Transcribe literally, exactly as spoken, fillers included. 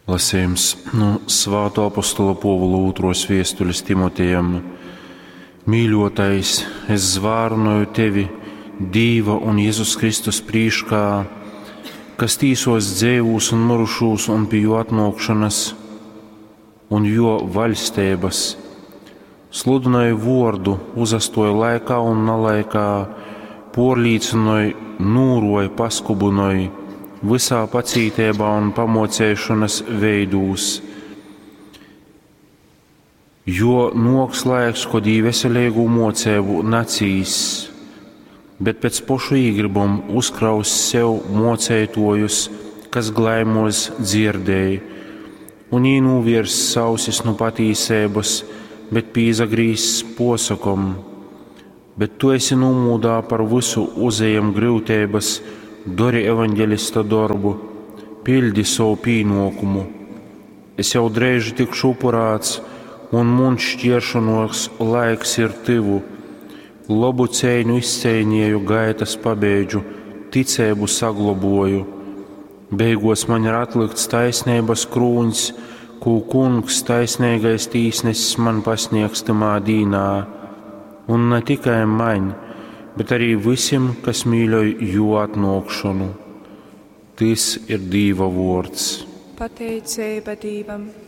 Lasījums nu Svāto apostola Pōvula ūtros viestulis Timotejam. Mīļotais, es zvārunoju tevi Dīva un Jezus Kristus prīškā, kas tīsos dzeivūs un mirušūs un pie jo atnākšanas un jo vaļsteibas. Sludināju vordu, uzastoju laikā un nalaikā, porlīcināju, nūroju, paskubunoju visā pacītībā un pamocēšanas veidūs. Jo noks laiks, kod ī veselīgu mocēbu nacīs, bet pēc pošu īgribom uzkraus sev mocētojus, kas glaimos dzirdēja, un ī nūvirs sausis nu patīsības, bet pīzagrīzs posakom. Bet tu esi numūdā par visu uzejam gryutības, dori evaņģelista darbu, pildi savu pīnokumu. Es jau dreiži tikšu upurāts, un muns šķiršanos laiks ir tuvu. Labu cēņu izcēņēju, gaitas pabeidžu, ticēbu sagloboju. Beigos man ir atlikts taisnības krūņs, ko kungs taisnīgais tīsnesis man pasniegs tamā dīnā. Un ne tikai man, bet arī visiem, kas mīļoj jo atnākšanu. Tas ir Dīva vārds. Pateicība Dīvam!